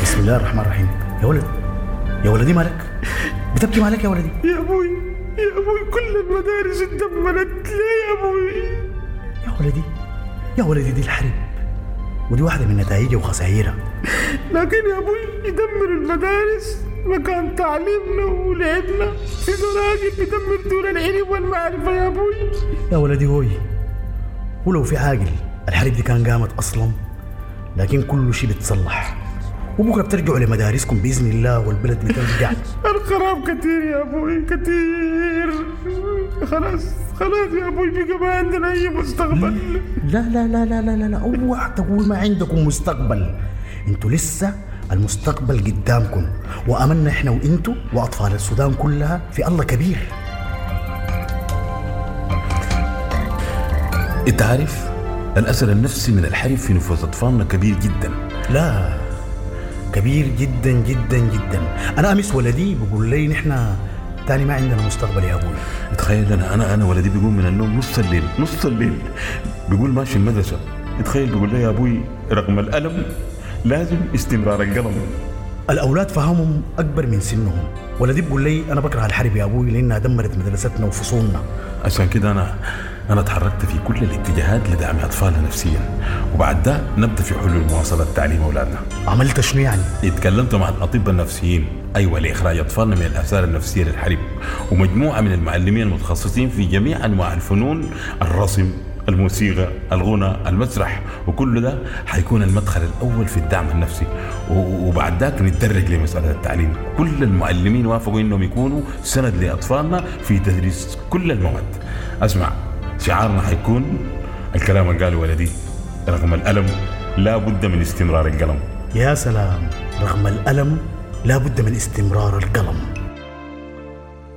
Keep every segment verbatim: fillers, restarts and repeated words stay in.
بسم الله الرحمن الرحيم. يا ولد، يا ولدي مالك؟ بتبكي مالك يا ولدي؟ يا ابوي يا ابوي كل المدارس اتدمرت ليه يا ابوي؟ يا ولدي يا ولدي دي الحرب، ودي واحدة من نتائجها وخسائرها. لكن يا ابوي يدمر المدارس مكان تعليمنا ولعبنا، في زراجل بيدمر دور العلم والمعرفة يا ابوي. يا ولدي هوي، ولو في عاقل الحرب دي كان قامت أصلا، لكن كل شيء بيتصلح، وبكرة بترجعوا لمدارسكم بإذن الله والبلد بترجع. الخراب كتير يا أبوي كتير، خلاص خلاص يا أبوي بقى ما عندنا أي مستقبل. لا لا لا لا لا لا لا، اوعى تقول ما عندكم مستقبل، انتوا لسه المستقبل قدامكم، وأملنا احنا وانتوا وأطفال السودان كلها في الله كبير. انت عارف الأثر النفسي من الحرب في نفوس أطفالنا كبير جدا. لا كبير جدا جدا جدا. أنا أمس ولدي بيقول لي نحن تاني ما عندنا مستقبل يا أبوي. تخيل أنا أنا أنا ولدي بيقوم من النوم نص الليل، نص الليل بيقول ماشي المدرسة. تخيل بيقول لي يا أبوي رغم الألم لازم استمرار القلم. الأولاد فهمهم أكبر من سنهم. ولدي بيقول لي أنا بكره الحرب يا أبوي لأنها دمرت مدرستنا وفصولنا. عشان كده أنا أنا تحركت في كل الاتجاهات لدعم أطفالنا نفسيا، وبعد ده نبدأ في حلول مواصلة تعليم أولادنا. عملت شنو يعني؟ اتكلمت مع الأطباء النفسيين، أيوة، لإخراج أطفالنا من الآثار النفسية للحرب، ومجموعة من المعلمين المتخصصين في جميع أنواع الفنون، الرسم، الموسيقى، الغنى، المسرح، وكل ده حيكون المدخل الأول في الدعم النفسي، وبعد ذاك نتدرج لمسألة التعليم. كل المعلمين وافقوا إنهم يكونوا سند لأطفالنا في تدريس كل المواد. أسمع، شعارنا حيكون الكلام اللي قاله ولدي، رغم الألم لا بد من استمرار القلم. يا سلام، رغم الألم لا بد من استمرار القلم.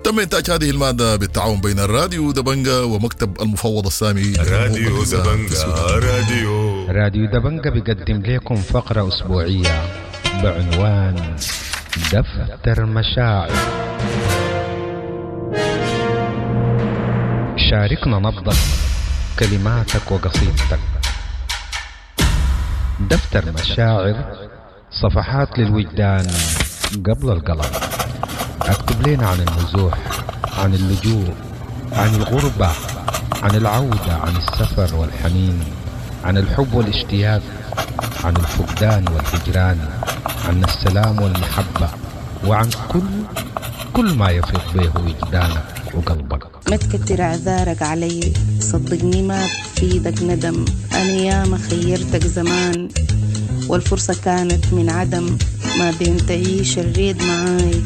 تم إنتاج هذه المادة بالتعاون بين الراديو دبنجة ومكتب المفوض السامي. راديو دبنجة، راديو راديو دبنجة بيقدم لكم فقرة أسبوعية بعنوان دفتر مشاعر. شاركنا نبضك، كلماتك وقصيدتك. دفتر مشاعر، صفحات للوجدان قبل القلم. اكتب لنا عن النزوح، عن اللجوء، عن الغربة، عن العودة، عن السفر والحنين، عن الحب والاشتياق، عن الفقدان والهجران، عن السلام والمحبة، وعن كل كل ما يفيض به وجدانك وقلبك. ما تكتر اعذارك علي، صدقني ما بفيدك ندم، انا ياما خيرتك زمان والفرصة كانت من عدم، ما بين تعيش الريد معاي،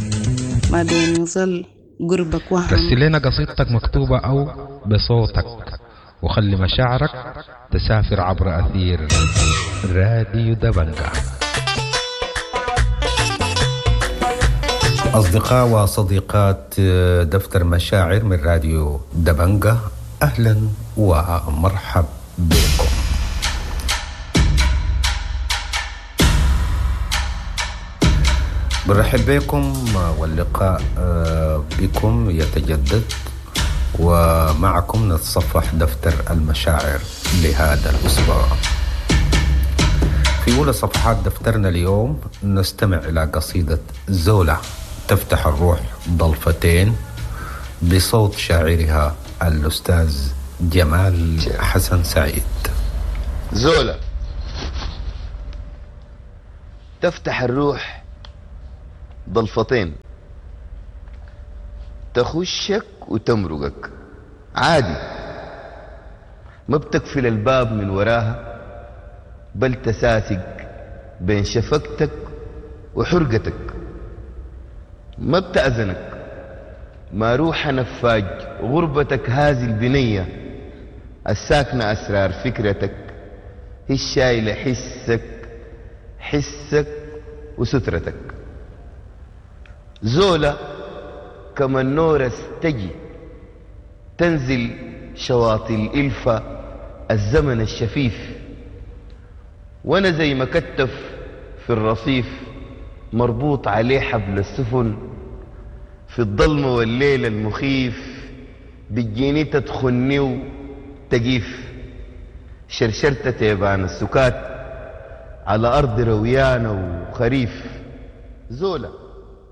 ما بين يظل قربك وهم. رسل لنا قصيدتك مكتوبة أو بصوتك، وخلي مشاعرك تسافر عبر أثير راديو دبنجة. أصدقاء وصديقات دفتر مشاعر من راديو دبنجة، أهلا ومرحب بكم. برحب بكم واللقاء بكم يتجدد، ومعكم نتصفح دفتر المشاعر لهذا الأسبوع. في أولى صفحات دفترنا اليوم نستمع إلى قصيدة زولة تفتح الروح ضلفتين بصوت شاعرها الأستاذ جمال حسن سعيد. زولة تفتح الروح ضلفتين، تخشك وتمرقك عادي، ما بتقفل الباب من وراها، بل تساسق بين شفقتك وحرقتك، ما بتأذنك، ما روح نفاج غربتك هذه البنية الساكنة أسرار فكرتك، هي الشايلة حسك حسك وسترتك. زولة كما النورس تجي تنزل شواطئ الإلفة الزمن الشفيف، وانا زي ما كتف في الرصيف مربوط عليه حبل السفن، في الظلمة والليل المخيف بتجيني تدخلني وتجيف، شرشرت تيبان السكات على أرض رويانة وخريف. زولة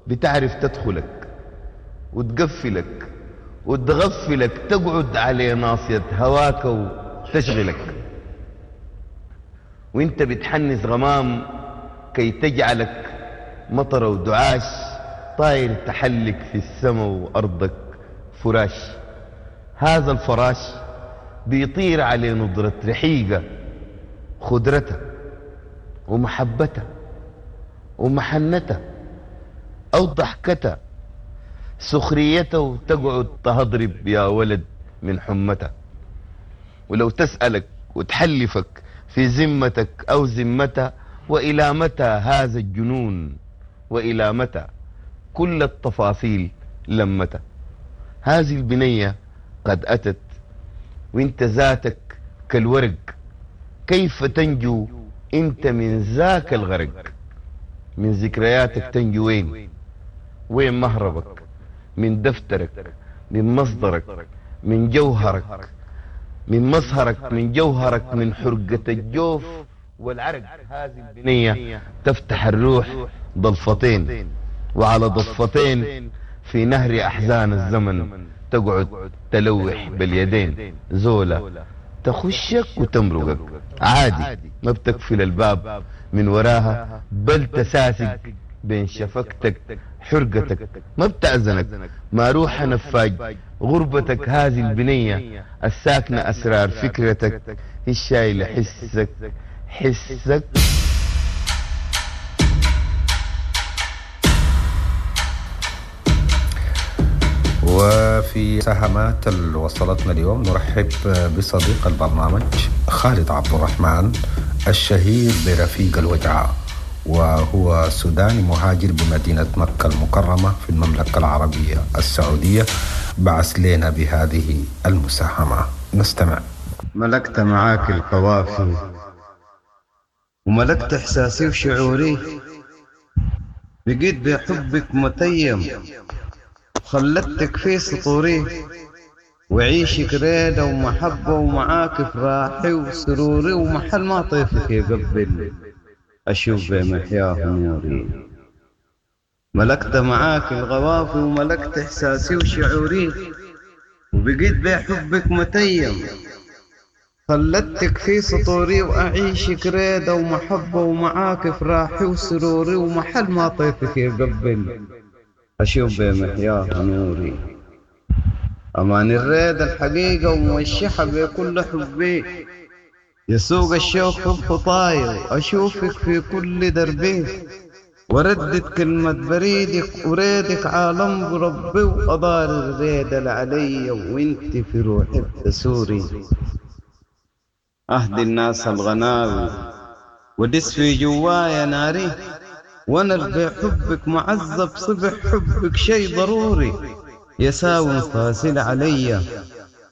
بتعرف تدخلك وتقفلك وتغفلك، تقعد على ناصية هواك وتشغلك، وانت بتحنس غمام كي تجعلك مطر ودعاش، طاير تحلق في السماء وأرضك فراش. هذا الفراش بيطير على نضرة رحيقة خدرتها ومحبتها ومحنتها أو ضحكتها سخريتها، وتقعد تهضرب يا ولد من حمتها. ولو تسألك وتحلفك في ذمتك أو ذمتها، وإلى متى هذا الجنون، وإلى متى كل التفاصيل لمتى. هذه البنية قد أتت وانت ذاتك كالورق، كيف تنجو انت من ذاك الغرق؟ من ذكرياتك تنجو وين؟ وين مهربك؟ من دفترك، من مصدرك، من جوهرك، من مظهرك، من جوهرك، من حرقة الجوف والعرق. هذه البنية تفتح الروح ضلفتين، وعلى ضفتين في نهر أحزان الزمن تقعد تلوح باليدين. زولة تخشك وتمرقك عادي، ما بتقفل الباب من وراها، بل تساسق بين شفقتك حرقتك، ما بتأذنك ما روح نفاج غربتك. هذه البنية الساكنة أسرار فكرتك، هي الشايلة حسك حسك. وفي سهمات اللي وصلتنا اليوم نرحب بصديق البرنامج خالد عبد الرحمن الشهير برفيق الوجعة، وهو سوداني مهاجر بمدينة مكة المكرمة في المملكة العربية السعودية. بعث لنا بهذه المساهمة، نستمع. ملكت معاك القوافي وملكت إحساسي وشعوري، بقيت بحبك متيم خلتك في سطوري، وعيشك ريدة ومحبة ومعاك فراحي وسروري، ومحل ما طيفك يقبل أشوف بمحياه نوري. ملكت معاك الغوافي وملكت إحساسي وشعوري، وبقيت بحبك متيم خلتك في سطوري، وأعيشك ريدة ومحبة ومعاك فراحي وسروري، ومحل ما طيفك يقبل أشوف بمحياه نوري. أمان الريد الحقيقة وموشحة بكل حبي، يسوق الشوق في خطاي وأشوفك في كل دربي، وردد كلمة بريدك وريدك عالم بربي، وأضار الريد العلي وانت في روحي تسوري. أهدي الناس الغناوي ودس في جوايا ناري، وانا بحبك معذب صبح حبك شي ضروري، يساوي فاصل عليا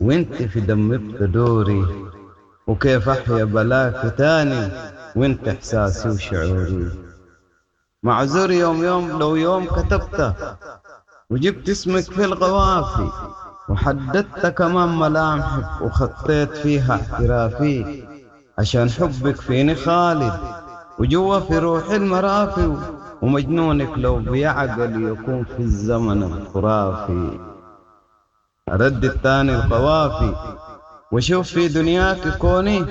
وانت في دمي بتدوري، وكيف احيا بلاك تاني وانت احساسي وشعوري. معذور يوم يوم لو يوم كتبته وجبت اسمك في الغوافي، وحددت كمان ملامحك وخطيت فيها اعترافي، عشان حبك فيني خالد وجوا في روحي المرافي، ومجنونك لو بيعقل يكون في الزمن الخرافي. أرد التاني القوافي وشوف في دنياك كوني،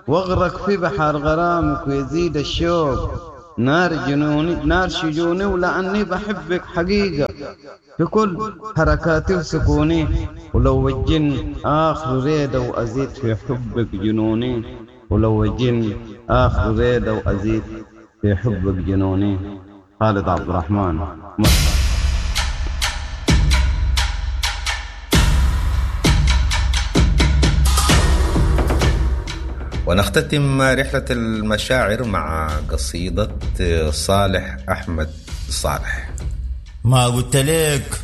واغرق في بحر غرامك ويزيد الشوق نار جنوني نار شجوني، ولأني بحبك حقيقة في كل حركاتي وسكوني، ولو الجن آخر ريدة وأزيد في حبك جنوني، ولو الجن آخر ريدة وأزيد في حبك جنوني. خالد عبد الرحمن. ونختتم رحلة المشاعر مع قصيدة صالح أحمد صالح. ما قلت لك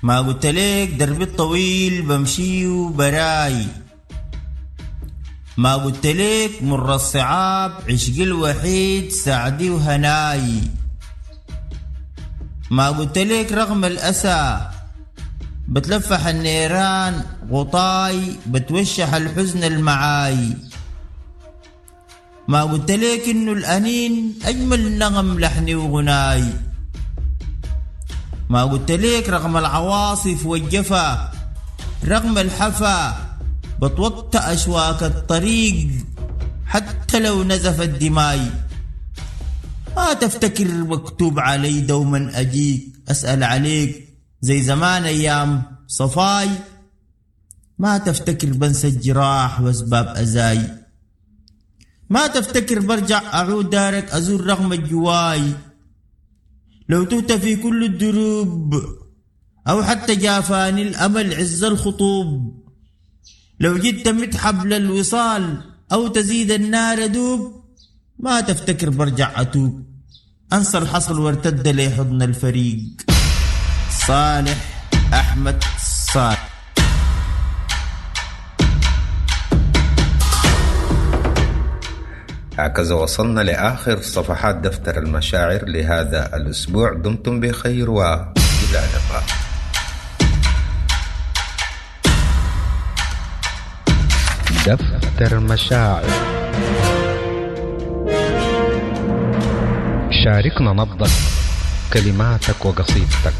ما قلت لك دربي الطويل بمشي وبراي، ما قلت لك مر الصعاب عشقي الوحيد سعدي وهناي، ما قلت لك رغم الأسى بتلفح النيران غطاي بتوشح الحزن المعاي، ما قلت ليك إنه الأنين أجمل نغم لحني وغناي. ما قلت ليك رغم العواصف والجفا، رغم الحفا، بتوطأ أشواك الطريق حتى لو نزفت دماي. ما تفتكر مكتوب علي دوما أجيك أسأل عليك زي زمان أيام صفاي. ما تفتكر بنسى الجراح وأسباب أزاي. ما تفتكر برجع أعود دارك أزور رغم الجواي. لو تهت في كل الدروب أو حتى جافاني الأمل عز الخطوب. لو جيت تمد حبل الوصال أو تزيد النار دوب. ما تفتكر برجع أتوب، أنسى الحصل وارتد لي حضن الفريق. صالح أحمد صالح. هكذا وصلنا لآخر صفحات دفتر المشاعر لهذا الأسبوع. دمتم بخير وإلى اللقاء. دفتر مشاعر، شاركنا نبضك، كلماتك وقصيدتك.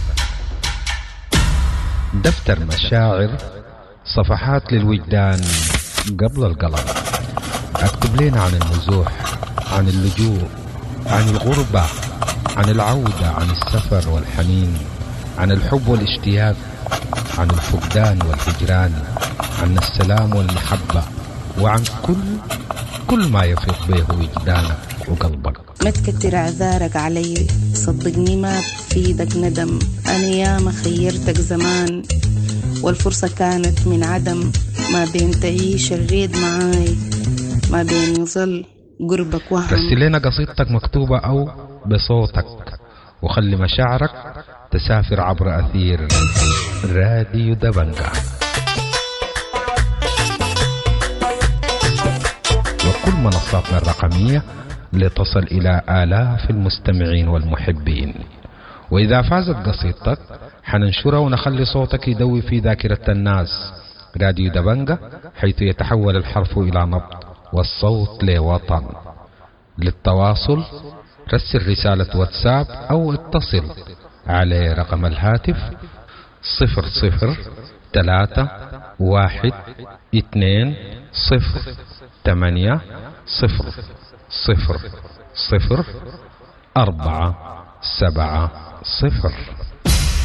دفتر مشاعر، صفحات للوجدان قبل القلم. اكتب لنا عن النزوح، عن اللجوء، عن الغربة، عن العودة، عن السفر والحنين، عن الحب والاشتياق، عن الفقدان والهجران، عن السلام والمحبة، وعن كل كل ما يفيض به وجدانك وقلبك. ما تكتر اعذارك علي، صدقني ما بفيدك ندم. انا ياما خيرتك زمان والفرصة كانت من عدم. ما بين تعيش الريد معاي، ما بين يظل قربك وهم. رسل لنا قصيدتك مكتوبة أو بصوتك، وخلي مشاعرك تسافر عبر أثير راديو دبنجا وكل منصاتنا الرقمية لتصل إلى آلاف المستمعين والمحبين. وإذا فازت قصيدتك حننشرها ونخلي صوتك يدوي في ذاكرة الناس. راديو دبنجا، حيث يتحول الحرف إلى نبض والصوت لوطن. للتواصل رسل رسالة واتساب أو اتصل على رقم الهاتف صفر صفر ثلاثة واحد اثنين صفر ثمانية صفر صفر صفر أربعة سبعة صفر.